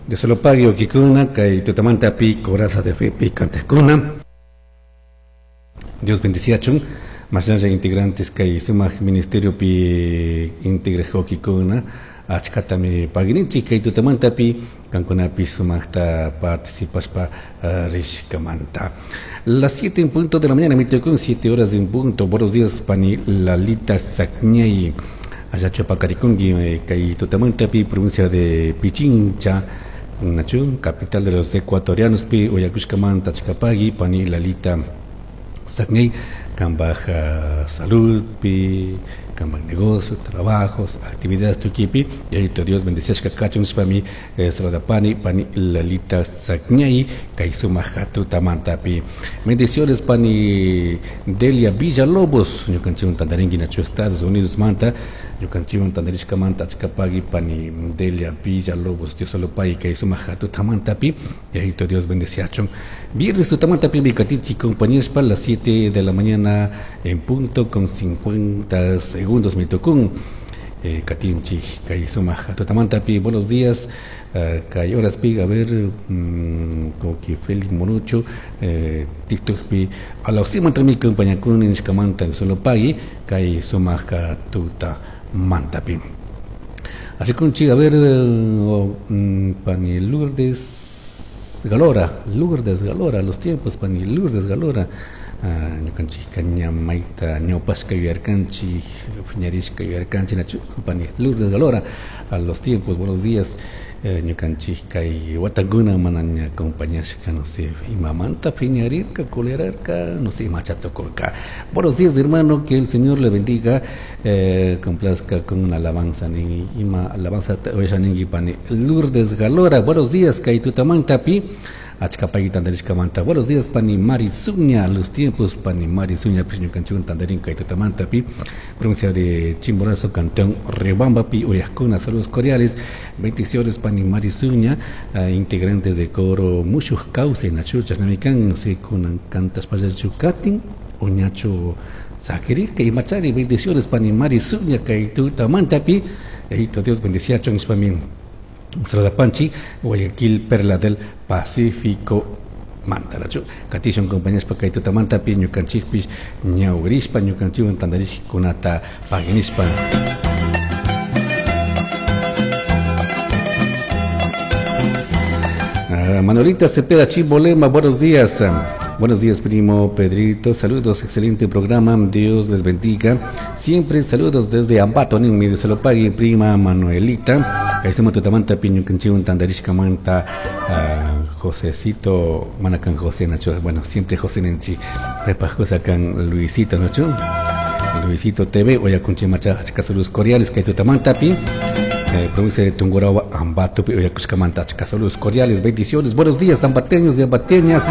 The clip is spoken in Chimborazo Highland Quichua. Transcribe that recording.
Dios lo pague ukikuna kay tutamantapi coraza de fe pi cantejkuna. Dios bendiciachun. Mashnalla integrantes kay sumak ministerio pi integraj ukikuna achkatami paguininchik kay tutamantapi kankunapi sumakta participashpa rishkamanta. Las 7 en punto de la mañana, me tocó 7 horas en punto. Buenos días, pani Lalita Sacñay. Allá Chopacariconqui, kay tutamantapi, provincia de Pichincha, Nachun, capital de los ecuatorianos, pi Oyacushkamanta, Chicapagui, pani Lalita Sacñay, kambaj salud, pi, kambaj negocio, trabajos, actividades tukipi, y ahí Dios bendeciashka kachun nishpami, pani, pani Lalita Sacñay, kay sumak tutamantapi. Bendiciones pani Delia Villalobos, ñukanchikwan tantarinki nachu Estados Unidos manta, ñukanchikwan tantarishkamanta achkapagui pani Delia Villalobos, Dios solo pagui kay sumak tutamantapi, y ahí Dios bendeciachun. Viernes tutamantapi mikatichi compañías para las 7 de la mañana en punto con 50 segundos me tocó katinchi kay sumak tutamantapi. Buenos días, kay horas pi, a ver, como que Félix Morucho, TikTok pi, a la oxima mi compañía con nishkamanta solo pagui kay sumak tutamantapi. Así con chi, a ver, pani Lourdes Galora, Lourdes Galora, los tiempos, pani Lourdes Galora, ñukanchik ñamayta ñawpashka yuyarkanchik, piñarishka yuyarkanchik, nachu, pani Lourdes Galora, a los tiempos, buenos días, ñukanchik kay watakuna mana ña acompañashka, no sé, imamanta piñarirka, colerarka, no sé, imachatukurka. Buenos días, hermano, que el Señor le bendiga, complazca con una alabanza, ni ima alabanza ningi pani Lourdes Galora. Buenos días, kay tutamantapi. Achkapagui tantarishkamanta. Buenos días, pani Mari Zuña, los tiempos, pani Mari Zuña, pues ñukanchikwan tantarin kay tutamantapi, provincia de Chimborazo, cantón Riobambapi, Uyascuna. Saludos cordiales, bendiciones, pani Mari Zuña, integrante de coro Muchos Cauce, Nachuchas, Namican, no sé, kunan cantas payachucatin, Uñacho Saquirirka y Machari, bendiciones, pani Mari Zuña, kay tutamantapi, Ejito Dios bendiciachon, ishpamin. Panchi, Guayaquil, Perla del Pacífico, Mantarachu. Katishon compañías pa kay tutamantapi, ñukanchikpish, ñawrishpa, ñukanchikwan tantarishkunata paginishpa. Manuelita Cepeda Chimbolema, buenos días. Buenos días, primo Pedrito. Saludos, excelente programa. Dios les bendiga. Siempre saludos desde Ambato, en medio se lo pague, prima Manuelita. Ahí estamos tutamanta, piño canchiun, tandarishka manta, Josecito, manacan José Nacho. Bueno, siempre José Nenchi. Repa José can Luisito Nacho. Luisito TV, oya kunchimacha, achka saludos cordiales, que tutamanta, pi. Provincia de Tungurahua, Ambato, pi, oya kushkamanta, achka saludos cordiales, bendiciones. Buenos días, ambateños y ambateñas.